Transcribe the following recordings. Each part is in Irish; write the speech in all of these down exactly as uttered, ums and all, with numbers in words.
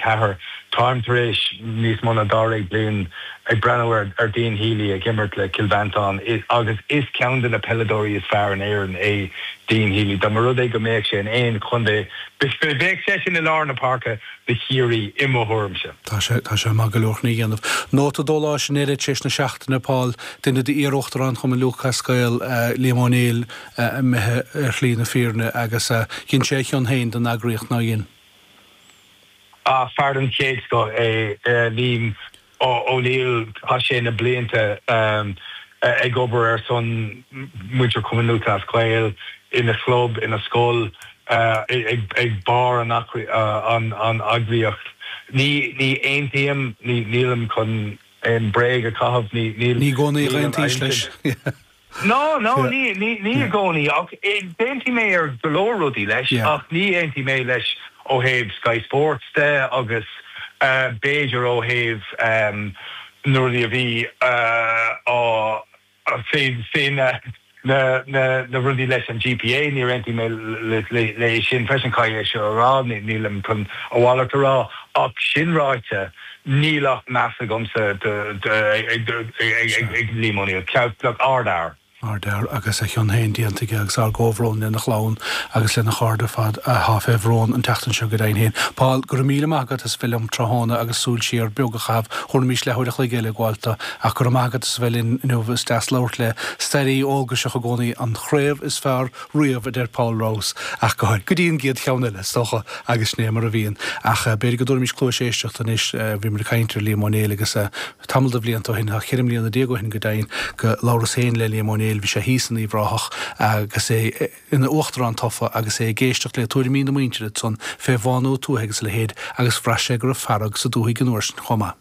ceathair táim tar éis níos mó ná dáréag bliain ag breathnú ar ar Dean Healy ag imirt le Cill Mhantáin agus is ceann de na peileadóirí is fearr in Éirinn é Dean Healy dá mba rud é go mbeadh sé in aon chontae bheadh sé sin i lár na páirce do Chiarraí i mo thuairimse. Tá sé tá sé maith go leor ní dhéanamh. Nóta dóláis in eile tar éis na seachtaine Paul duine d'iar-uachtaráin Chumann Lúthchleas Gael uh, Liam Ó Néill uh, imithe ar shlí na fírinne agus uh, dhein sé a chion féin don eagraíocht nár dhein. A fear den chéad scoth é Liam Ó Néill tá sé na blianta um, ag obair ar son muintir Chumann Lúthchleas Gael ina chlub ina scoil uh, ag, ag barr an, uh, an, an eagraíocht. Ní ní aontaím ní nílim chun an bréag a chaitheamh ní ní gcónaí aontaím leis. No, no, ní ní ní i gcónaí ach d'aontaigh mé ar go leor rudaí leis ach ní aontaím mé leis ó thaobh Sky Sports de agus uh, b'fhéidir ó thaobh um, nuair a bhí uh, á fé na na na na rudaí leis an GPA ní aontaím mé le sin freisin caithfidh sé rá nílim chun a mhalairt a rá ach sin ráite níl ach meas agamsa ag Liam Ó Néill ardfhear. Ardfhear agus a chion féin déanta aige agus ár gcomhbhrón lena chlann agus lena chairde fad atá fé bhrón an tseachtain seo go deimhin féin. Paul go raibh míle maith agat as bheith liom tráthnóna agus súil siar beag a chaitheamh thabharfaimis leathuair a chloig eile gabhálta ach go raibh maith agat as bheith linn inniu is deas labhairt le staraí eolgaiseach i gcónaí an chraobh is fearr riamh a deir Paul Rouse ach go go dtí an gcéad cheann eile is dócha agus né mar a bhíonn ach b'fhéidir go dtabharfaimis cluas éisteachta anois bhí mar caint ar Liam Ó Néill agus tamall de bhlianta ó shin ceithre bliana déag ó shin go deimhin go labhras féin le Liam Ó Néill bhí sé thíos in Uíbh Ráthach agus é ina uachtarán tofa agus é ag éisteacht le tuairimí na muintire san fé bhánú tuaithe agus a leithéid agus bhraith sé go raibh fearg sa dúthaigh an uair sin chomh maith.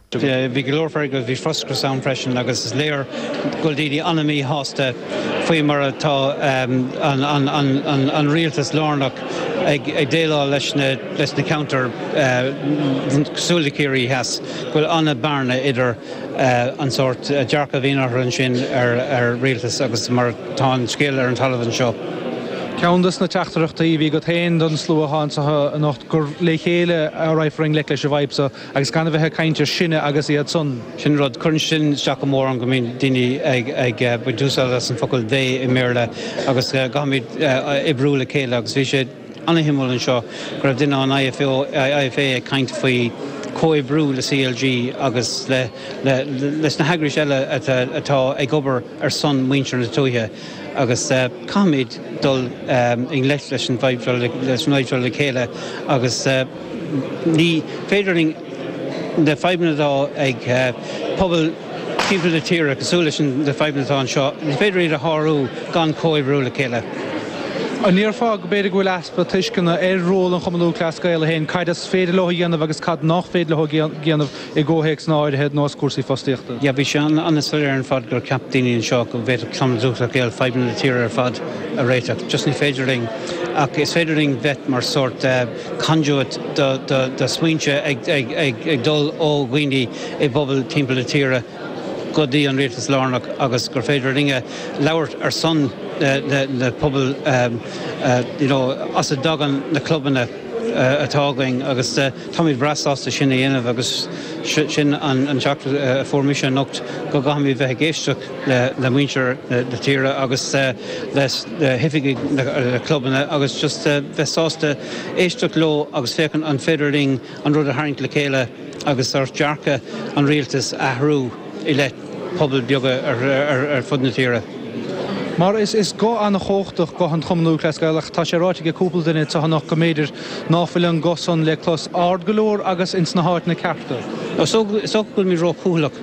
Bhí go leor fearg bhí frustrachas ann freisin agus is léir go bhfuil daoine an-mhíshásta faoi mar atá um, an, an, an, an, an rialtas lárnach ag, ag déileáil leis na, leis na ceantair uh, cosúil le Ciarraí Theas, go bhfuil an-bhearna idir uh, an sórt uh, dearcadh a bhíonn ansin ar, ar rialtas agus mar tá an scéal ar an talamh anseo. Ceann des na teachtaireachtaí bhí agat féin don slua anseo anocht gur le chéile a rachfar i ngleic leis an bhfadhb seo agus gan a bheith ag caint ar sinne agus iad san. Sin rud cuireann sin isteach go mór go mbíonn daoine ag ag baint úsáid as an focal they i mBéarla agus caithfimid oibriú le chéile agus bhí sé an-shuimiúil anseo go raibh duine an IFA ag caint faoi comhoibriú le CLG agus le, le, leis na heagrais eile atá ag obair ar son muintir na tuaithe agus uh, caithfimid dul um, i ngleic leis an leis an le chéile agus uh, ní féidir linn na fadhbanna atá ag uh, pobal timpeall na tíre cosúil leis na fadhbanna atá anseo, ní féidir iad a shárú gan comhoibriú le chéile. An ndéarfá go b'fhéidir go bhfuil easpa tuisceana ar ról an Chumann Lúthchleas Gael féin cad is féidir leo a dhéanamh agus cad nach féidir leo a dhéanamh i gcomhthéacs áirithe nós cúrsaí fostaíochta. Ja bhí sé an-soiléir ar fad gur cheap daoine anseo go bhféadfadh Cumann Lúthchleas Gael fadhbanna na tíre ar fad a réiteach. Just ní féidir linn ach is féidir linn bheith mar sórt uh, conduit do, do, do smaointe ag, ag, ag, ag dul ó dhaoine i bpobal timpeall na tíre go dtí an rialtas lárnach agus gur féidir linne labhairt ar son na, na pobal um, uh, you know, as a dtagann na clubanna uh, atá againn agus uh, táimid breá sásta sin a dhéanamh agus sin an, an teachtaireacht uh, fuair mise anocht go gcaithfimid bheith ag éisteacht le, le muintir na, na tíre agus uh, le, le hoifigigh na, na clubanna agus just uh, bheith sásta éisteacht leo agus féachaint an féidir linn an rud a tharraingt le chéile agus ar dearcadh an rialtas athrú i leith pobal beaga ar, ar, ar fud na tíre. Mar is is guth an-chumhachtach guth an Chumann Lúthchleas Gael ach tá sé ráite ag cúpla duine anseo go mb'fhéidir nach bhfuil an guth san le clos ard go leor agus ins na háiteanna cearta. So so go bhfuil muid róchúthaileach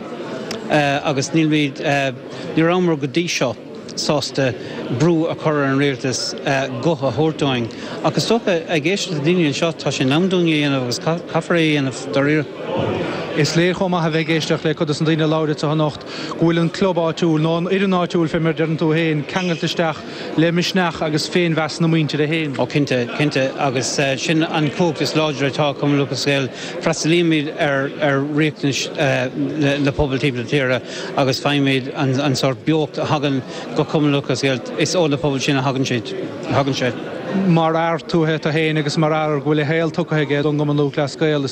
uh, agus níl uh, ní rabhamar go dtí seo sásta brú a chur ar an rialtas uh, guth a thabhairt dúinn. Agus dócha ag éisteacht le daoine anseo tá sé in am dúinn a dhéanamh agus caithfear é a dhéanamh dáiríre. Is léir chomh maith a bheith ag éisteacht le cuid des na daoine a labhair anseo anocht go bhfuil an club áitiúil nó an fhoireann áitiúil fé mar deireann tú féin ceangailte isteach le misneach agus féinmheas na muintire féin. Ó cinnte cinnte agus uh, sin an chumhacht is láidre atá Cumann Lúthchleas Gael freastalaímid ar ar riachtanais uh, le, le pobal timpeall na tíre agus faighimid an, an sórt beocht a thagann go Cumann Lúthchleas Gael is ó na pobal sin a thagann siad thagann sé. Mar fhear tuaithe féin agus mar fhear go bhfuil a shaol tugtha aige don gCumann Lúthchleas Gael